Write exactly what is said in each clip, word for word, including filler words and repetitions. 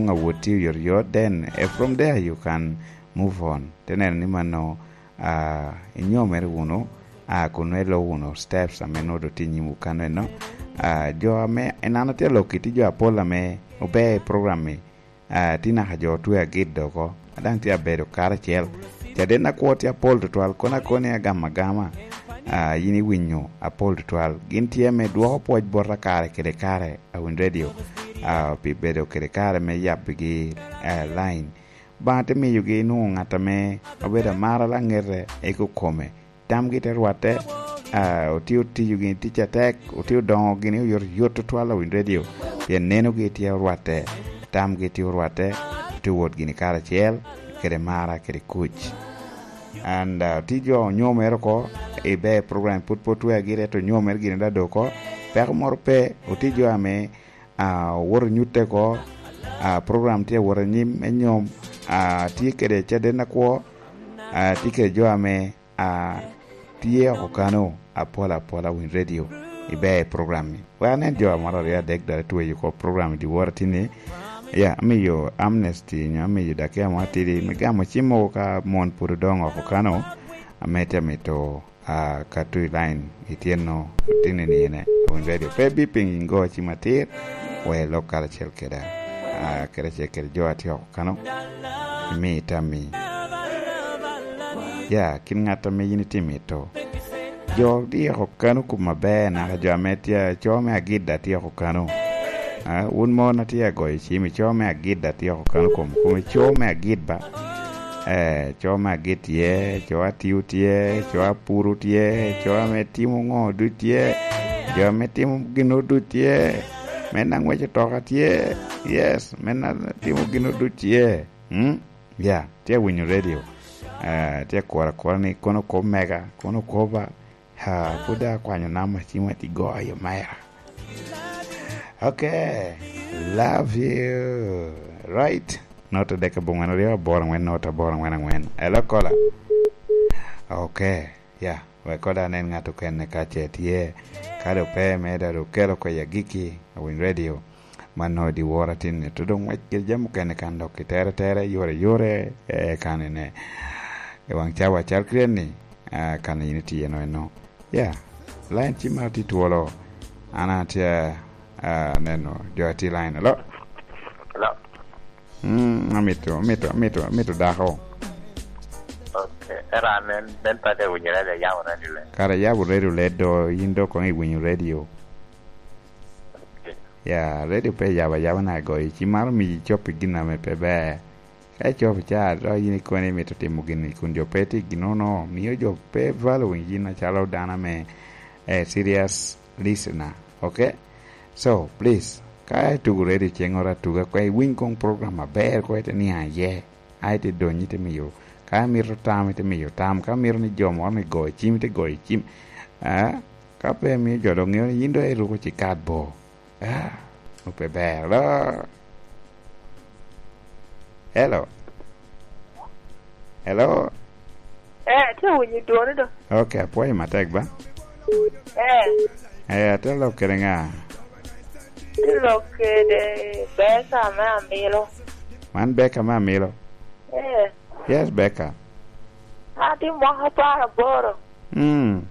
Awoti oyotoyot, then eh, from there you can move on. Te neno ni mano uh, inyomere wunu uh, kun nongo ilubo wunu steps ame nongo dong tye inyimwu kano eno. Uh, jo ame enano tye aloki tye jo apol ame ober i program-mi uh, tye naka jo otwe agit doko adang tye abedo karacel caden na kwo tye apol tutwal kono akoni agamo agama uh, in iwinyo apol tutwal gin tye me dwoko pwoc bota kare kede kare awiny radio uh, pi bedo kede kare me yabigi uh, line banga te miyogi nongo ngat ame obedo amara langete i kikome tamgi te rwatte uh, otye otiyo gini tic atek otye odongo gini oyotoyot tutwal awiny radio pien nenogi tye orwatte tamgi tye orwatte tye wot gini karacel kede mara kede kuc and uh, tye jo onyomere oko ibe program pud pe otwe agire ento onyomere gini da doko peko moro pe otye jo ame uh, woto nyutte ko uh, program tye wot anyim me nyom uh, tye kede caden akwo uh, tye kede jo ame uh, tye oko kano apol apola winy radio ibe i program ni wek anen jo moro aryo adek dok itweyo ko program di wora tini ya amiyo amnesty nyo amiyo dakika mo atidi me gamo cim mogo ka mon pud odongo oko kano ame tye amito uh, ka tu i line ityeno tini nine winy radio pe biping ingo cim atir we lok karacel keda uh, kede acel kede jo atye oko kano imi tammi ya kin ngat ame in itye mito jo tye oko kano kum maber naka jo ame tye co me agida tye oko kano uh, wun mon atye agoyo cim i co me agida tye oko kano kom kome co me agid ba eh, co me agid tye co atiu tye co apuru tye co ame timo ngo duc tye jo ame timo gino duc tye me na ngweco toka tye yes me na timo gino duc tye hmm? ya tye winyo radio uh, tye kura kura ni kono kob mega kono koba ha pud akwanyo namba cim ati goyo mera. Okay, love you. Right. Not adek abongwen aryo aboro angwen not aboro angwen angwen. Hello caller. Okay, yeah. Wek koda anen ng'ato kene ka ce tye ka do pe meda do kelo ko ya giki awiny radio mano di wora tinne to dong wek kede jami mukene kan dok kitere tere yore yore eh, kanene i wang cawa cal krien ni uh, kan in itiye no eno yeah line cim mar tye twolo an atye uh, neno jo atye line hello. Hello. mm, amito amito amito amito dako. Okay. Era nen ben pate winyo radio yabo radio le. Kara yabo radio le do in do kong iwinyo radio. Okay. Ya radio pe yabo ayaba na goyo ci maro miyi copi gin ame pe ber ka icopo ca do in ikone imito timo gini kun jo pe tye ginono miyo jo pe following in macalo dano ame eh, serious listener. Okay, so please ka itugo radio ceng oro atuga kwe iwiny kong program maber ko ite niang iye ai ite donyi ite miyo ka mito tam ite miyo tam ka mito ni jo moro ni goyo cim ite goyo cim eh, ka pe miyo jo dong ng'eyo ni in do iruko cikat bo ah, pe ber lo. Hello, hello. Eh, tye winyo dwoni do. Okay, apwoyo matek ba. Eh, eh ate lok kede nga? Tye lok kede Beka me Amilo. Man Beka me Amilo. Eh, yes Beka. Atye mwaka apar aboro. mm.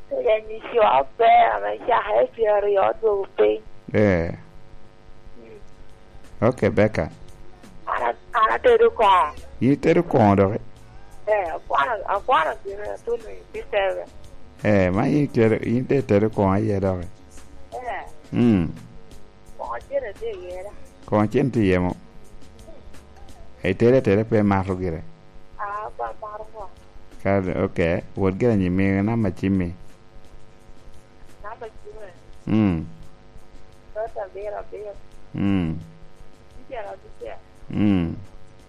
Tye nyico aber ame cake pyeraryo odwogo piny. eh okay Beka. An an atedo kongo. In itedo kongo doki? Eh, akwano akwano gine atunu i P seven. Eh, ma in itedo in te itedo kongo aye doki? Eh, mm. Kongo cene tye iye da. Kongo cene tye iye mo? Itedo ateda pe mato gire? Ah, pa mato kongo. Ka okay, wot gire anyim namba cimmi. Namba cime. mm. Not abiro abiro. mm. Abicel abicel. mm.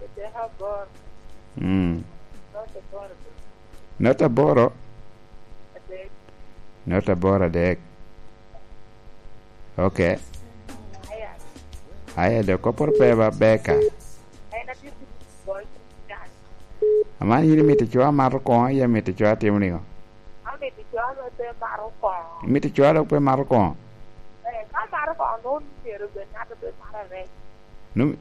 Adek aboro. mm. Not aboro adek. Not aboro? Adek. Not aboro adek. Okay. Aya. Aya do kopor pe ba Beka. En atye goyo can. Aman in imito co amato kongo aye imito co atimo ningo? Amito co ame pe mato kongo. Imito co dok pe mato kongo? Eh, ka mato kongo nongo myero bed ng'ato be mato arec. Nu